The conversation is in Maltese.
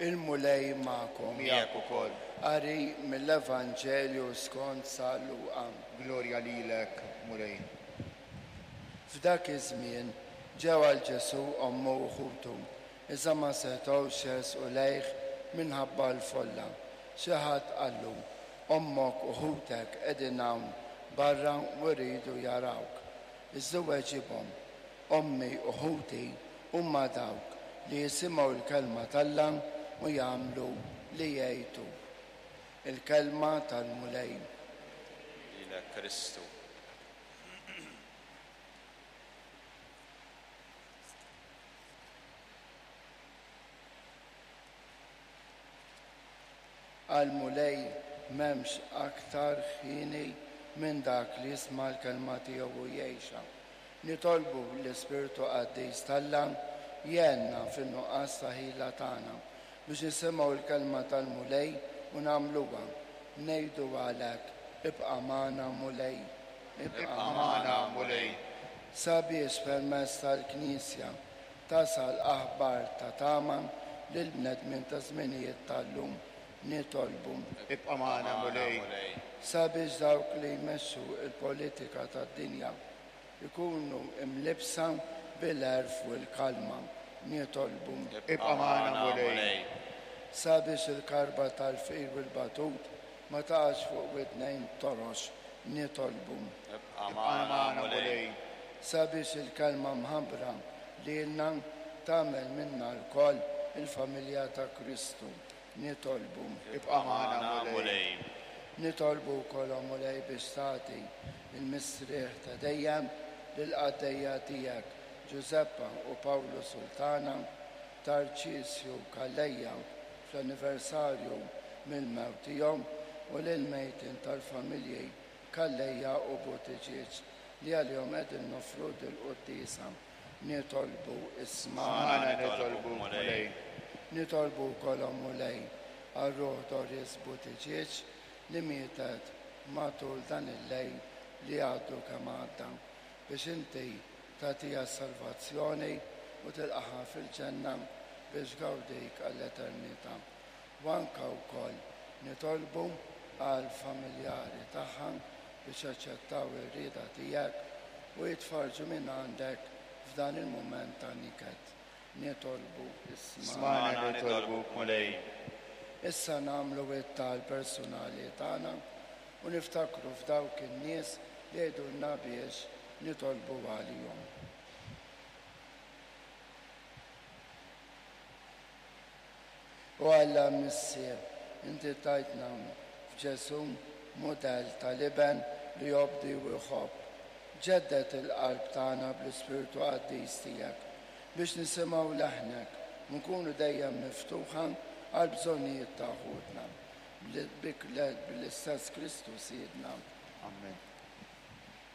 Il-Mulej magħkom. Miegħek ukoll. Qari mill-Evanġelju skont San Luqa. Glorja lilek, Mulej. F'dak iż-żmien ġew għal Ġesù ommu u ħutu, iżda ma setgħux jersqu lejh minħabba l-folla. Xi ħadd qallu, Ommok u ħutek qegħdin hawn barra u jridu jarawk. Iżda hu weġibhom, Ommi u ħuti huma dawk li jisimgħu l-kelma t'Alla u jagħmlu li jgħid hu. Il-Kelma tal-Mulej. Lilek Kristu. Għall-Mulej m'hemmx aktar ħieni minn dak li jisma' l-kelma tiegħu u jgħixha. Nitolbu l-Ispirtu Qaddis t'Alla jgħinna fin-nuqqas ta' ħila tagħna biex nisimgħu l-kelma tal-Mulej u nagħmluha. Ngħidu għalhekk, Ibqa' magħna Mulej. Ibqa' magħna Mulej. Sabiex permezz tal-Knisja tasal aħbar ta' tama lill-bnedmin taż-żminijiet tal-lum. Nitolbu. Ibqa' magħna Mulej. Sabiex dawk li jmexxu l-politika tad-dinja jkunu mlibbsa bil-għerf u l-kalma. Nitolbu. Ibqa' magħna Mulej. Sabiex il-karba tal-fqir u l-batut ma taqax fuq widnejn torox. Nitolbu. Ibqa' magħna Mulej. Sabiex il-kelma mħabbra lilna tagħmel minna lkoll il-familja ta' Kristu. Nitolbu. Ibqa' magħna Mulej. Nitolbu wkoll, o Mulej, biex tagħti l-mistrieħ ta' dejjem lill-qaddejja tiegħek Ġużeppa u Pawlu Sultana, Tarċisju Calleja fl-anniversarju mill-mewt tiegħu u lill-mejtin tal-familji Calleja u Buttigieg li għalihom qegħdin noffru dil-quddiesa. Nitolbu, Ismagħna nitolbuk, Mulej. Nitolbu wkoll, o Mulej, għal ruħ Doris Buttigieg li mietet matul dan il-lejl li għadu kemm għadda, biex inti tagħtiha s-salvazzjoni u tilqagħha fil-ġenna biex tgawdik għall-eternità. U anke wkoll nitolbu għall-familjari tagħha biex jaċċettaw ir-rieda tiegħek u jitfarrġu minn għandek f'dan il-mument ta' niket. Nitolbu, Ismagħna. Ismagħna nitolbuk, Mulej. Issa nagħmlu it-talb personali tagħna u niftakru f'dawk in-nies li jgħidulna biex nitolbu għalihom. O Alla Missier, inti tajtna f'Ġesù mudell tal-Iben li jobdi u jħobb. Ġedded il-qalb tagħna bl-Ispirtu Qaddis tiegħek, biex nisimgħu leħnek u nkunu dejjem miftuħa għall-bżonnijiet ta' ħutna. Bl-istess Kristu Sidna. Amen.